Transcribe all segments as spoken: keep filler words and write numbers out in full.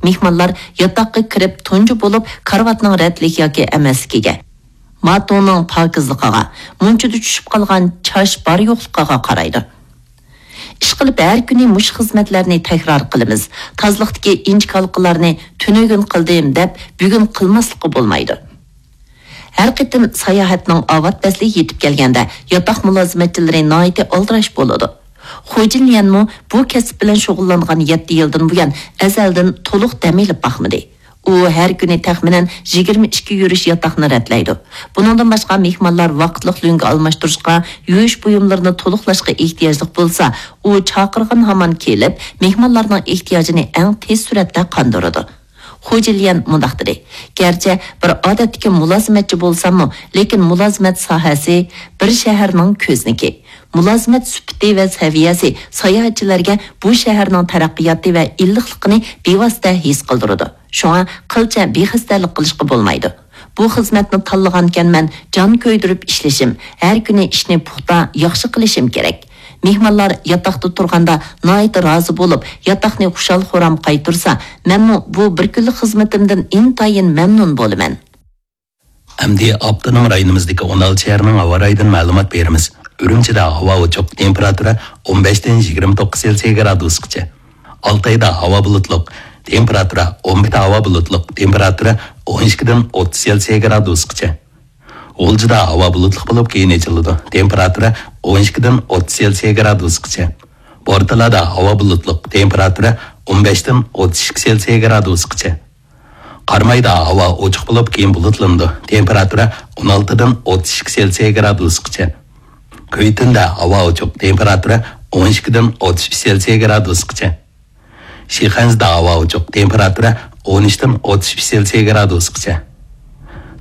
مېھمانلار ياتاققا كىرىپ تۇنجى بولۇپ كارىۋاتنىڭ رەتلىك ياكى ئەمەسلىكىگە، ماتونىڭ پاكىزلىقىغا، مۇنچىدا چۈشۈپ قالغان چاچ بار يوقلۇقىغا قارايدۇ. ئىشقىلىپ ھەر كۈنى مۇشۇ خىزمەتلەرنى تەكرار قىلىمىز. تازىلىقتىكى ئىنچىكە ھالقىلارنى تۈنۈگۈن قىلدىم دەپ بۈگۈن قىلماسلىققا بولمايدۇ. ھەر قېتىم ساياھەتنىڭ ئاۋات پەسلى يېتىپ كەلگەندە ياتاق مۇلازىمەتچىلىرى ناھايىتى ئالدىراش بولىدۇ. خۇجىن ليەنمۇ بۇ كەسىپ بىلەن شۇغۇللانغان يەتتە يىلدىن بۇيان ئەزەلدىن تولۇق دەم ئېلىپ باقمىدى. ئۇ ھەر كۈنى تەخمىنەن يىگىرمە ئىككى يۈرۈش ياتاقنى رەتلەيدۇ. بۇنىڭدىن باشقا مېھمانلار ۋاقىتلىق لۆڭگە ئالماشتۇرۇشقا، يۇيۇش بۇيۇملىرىنى تولۇقلاشقا ئېھتىياجلىق بولسا، ئۇ چاقىرغان ھامان كېلىپ، مېھمانلارنىڭ ئېھتىياجىنى ئەڭ تېز سۈرئەتتە قاندۇرىدۇ. خۇ جىليەن مۇنداق دېدى، گەرچە بىر ئادەتتىكى مۇلازىمەتچى بولساممۇ، لېكىن مۇلازىمەت ساھەسى بىر شەھەرنىڭ كۆزنىكى. مۇلازىمەت سۈپىتى ۋە سەۋىيەسى ساياھەتچىلەرگە بۇ شەھەرنىڭ تەرەققىياتى ۋە ئىللىقلىقىنى بىۋاسىتە ھېس قىلدۇرىدۇ. شۇڭا قىلچە بىخەستەلىك قىلىشقا بولمايدۇ. بۇ خىزمەتنى تاللىغانىكەنمەن، جان كۆيدۈرۈپ ئىشلىشىم، ھەر كۈنى ئىشنى پۇختا، ياخشى قىلىشىم كېرەك. مېھمانلار ياتاقتا تۇرغاندا ناھايىتى رازى بولۇپ، ياتاقنى خۇشال-خۇرام قايتۇرسا، مەنمۇ بۇ بىر كۈنلۈك خىزمىتىمدىن ئىنتايىن مەمنۇن بولىمەن. ئەمدى ئاپتونوم رايونىمىزدىكى ئون ئالتە شەھەرنىڭ ھاۋا رايىدىن مەلۇمات بېرىمىز. ئۈرۈمچىدە ھاۋا ئوچۇق، تېمپېراتۇرا ئون بەشتىن يىگىرمە توققۇز سېلسىيە گرادۇسقىچە. ئالتايدا ھاۋا بۇلۇتلۇق، تېمپېراتۇرا ئون بىردە ھاۋا بۇلۇتلۇق، تېمپېراتۇرا ئون ئىككىدىن ئوتتۇز سېلسىيە گرادۇسقىچە. غۇلجىدا ھاۋا بۇلۇتلۇق بولۇپ، كېيىن ئېچىلىدۇ، تېمپېراتۇرا ئون ئىككىدىن ئوتتۇز سېلسىيە گرادۇسقىچە. بورتالادا ھاۋا بۇلۇتلۇق، تېمپېراتۇرا ئون بەشتىن ئوتتۇز ئىككى سېلسىيە گرادۇسقىچە. قارامايدا ھاۋا ئوچۇق بولۇپ، كېيىن بۇلۇتلىنىدۇ، تېمپېراتۇرا ئون ئالتىدىن ئوتتۇز ئىككى سېلسىيە گرادۇسقىچە. كۈيتۈندە ھاۋا ئوچۇق، تېمپېراتۇرا ئون ئىككىدىن ئوتتۇز ئۈچ سېلسىيە گرادۇسقىچە. شىخەنزىدە ھاۋا ئوچۇق، تېمپېراتۇرا ئون ئۈچتىن ئوتتۇز ئۈچ سېلسىيە گرادۇسقىچە.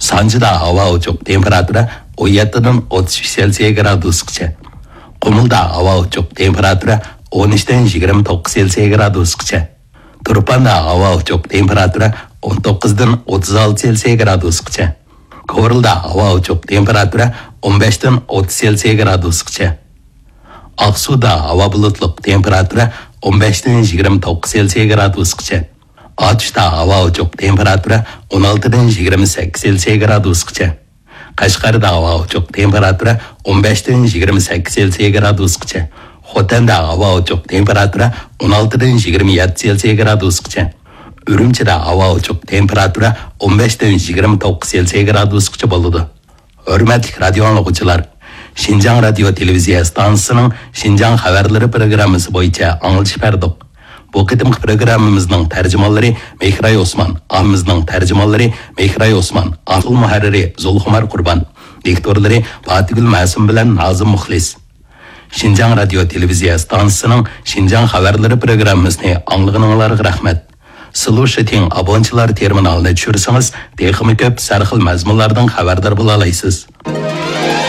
سانجىدا ھاۋا ئوچۇق، تېمپېراتۇرا ئون يەتتىدىن ئوتتۇز ئۈچ سېلسىيە گرادۇسقىچە. قۇمۇلدا ھاۋا ئوچۇق، تېمپېراتۇرا ئون ئۈچتىن يىگىرمە توققۇز سېلسىيە گرادۇسقىچە. تۇرپاندا ھاۋا ئوچۇق، تېمپېراتۇرا ئون توققۇزدىن ئوتتۇز ئالتە سېلسىيە گرادۇسقىچە. كورلىدا ھاۋا ئوچۇق، تېمپېراتۇرا ئون بەشتىن ئوتتۇز سېلسىيە گرادۇسقىچە. ئاقسۇدا ھاۋا بۇلۇتلۇق، تېمپېراتۇرا ئون بەشتىن يىگىرمە توققۇز سېلسىيە گرادۇسقىچە. ئاتۇشتا ھاۋا ئوچۇق، تېمپېراتۇرا ئون ئالتىدىن يىگىرمە سەككىز سېلسىيە گرادۇسقىچە. قەشقەردە ھاۋا ئوچۇق، تېمپېراتۇرا ئون بەشتىن يىگىرمە سەككىز سېلسىيە گرادۇسقىچە. خوتەندە ھاۋا ئوچۇق، تېمپېراتۇرا ئون ئالتىدىن يىگىرمە يەتتە سېلسىيە گرادۇسقىچە. ئۈرۈمچىدە ھاۋا ئوچۇق، تېمپېراتۇرا ئون بەشتىن يىگىرمە توققۇز سېلسىيە گرادۇسقىچە بولىدۇ. ھۆرمەتلىك رادىيو ئاڭلىغۇچىلار، شىنجاڭ رادىيو تېلېۋىزىيە ئىستانسىسىنىڭ شىنجاڭ خەۋەرلىرى پروگراممىسى بويىچە ئاڭلىتىش بەردۇق. بۇ قېتىمقى پروگراممىمىزنىڭ تەرجىمانلىرى مېھراي ئوسمان، ئاممىمىزنىڭ تەرجىمانلىرى مېھراي ئوسمان، ئاڭلىتىش مۇھەررىرى زۇلخۇمار قۇربان، دىكتورلىرى پاتىگۈل مەسۇم بىلەن نازىم مۇخلىس. شىنجاڭ رادىيو تېلېۋىزىيە ئىستانسىسىنىڭ شىنجاڭ خەۋەرلىرى پروگراممىسىنى ئاڭلىغىنىڭلارغا رەھمەت. سىلۇشىتىڭ ئابونچىلار تېرمىنالىنى چۈشۈرسىڭىز، تېخىمۇ كۆپ سەرخىل مەزمۇنلاردىن خەۋەردار بولالايسىز.